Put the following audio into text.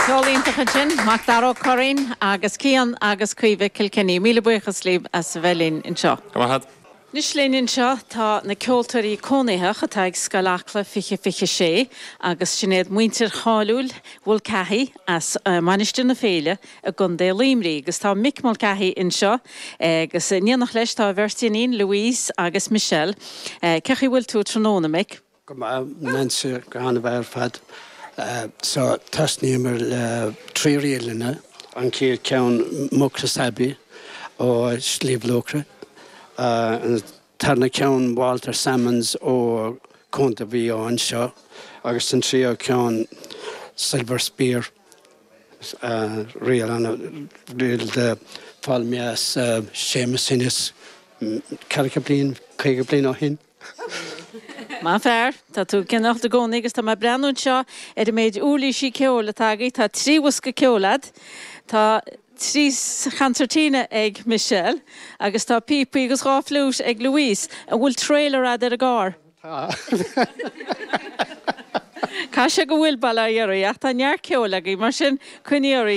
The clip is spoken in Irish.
Ceol iontach ansin, Macdara Ó Curraoin agus Cian agus Caoimhe Kilkenny. Míle buíochas libh as a bheith linn anseo. Go raibh maith agat. Anois linn anseo tá na ceoltóirí cónaitheach atá ag Scoil Acla 2026 agus sin iad muintir cháiliúil Mhulcahy as Mainistir na Féile i gContae Luimnigh agus tá Mick Mulcahy anseo agus in éineacht leis tá a bheirt iníon Louise agus Michelle. Cén chaoi a bhfuil tú tráthnóna, Mick? Go maith, Nancy, go han-mhaith ar fad. So, tosnaíomar le trí ríleanna, an chéad ceann Mucros Abbey ó Sliabh Luachra, an tarna ceann Walter Sammons ó Contae Mhaigh Eo anseo agus an tríú ceann Silver Spear, ríl ana, ríl a d'fhoghlaim mé as Séamus Ennis ceathracha bliain, 50 bliain ó shin. Maith an fear. Tá tú ag ceannacht i gcónaí agus tá mé ag breathnú anseo ar an méid uirlísí ceoil atá agaibh. Tá trí bhosca ceoil a'd. Tá trí chancertina ag Michelle agus tá píopaí agus dhá fliúit ag Louise. An bhfuil trailer a'd ar an gcarr? Tá. Caithfidh sé go bhfuil, bail ó Dhia oraibh, ach tá neart ceoil agaibh, mar sin coinnigh oraibh.